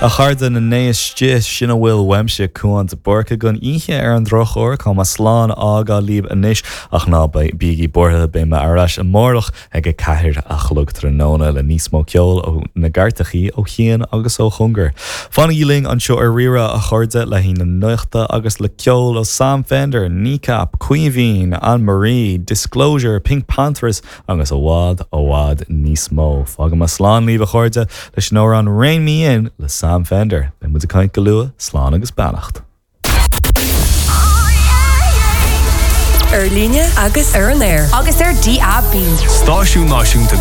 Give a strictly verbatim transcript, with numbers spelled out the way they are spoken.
A chairde na n-éiste sin a bhfuil uaimse Cuan de Búrca don oíche ar an drochuair tá mé slán á fhágáil libh anois ach ná bígí buartha beidh mé ar ais amárach ag a ceathair a chlog tráthnóna le níos mó ceol ó na gcairteachaí ó chian agus ó chóngar. Fanaigí linn anseo ar Rí-Rá a chairde le haghaidh na nuachta agus le ceol ó Sam Fender, Kneecap, Caoimhín, Anne-Marie, Disclosure, PinkPantheress agus i bhfad i bhfad níos mó. Fágfaidh mé slán libh a chairde leis an amhrán Rein Me In le Sam Fender, Beidh muid ag caint go luath, slán agus beannacht. Ar líne agus ar an aer. Agus ar DAB. Stáisiún Náisiúnta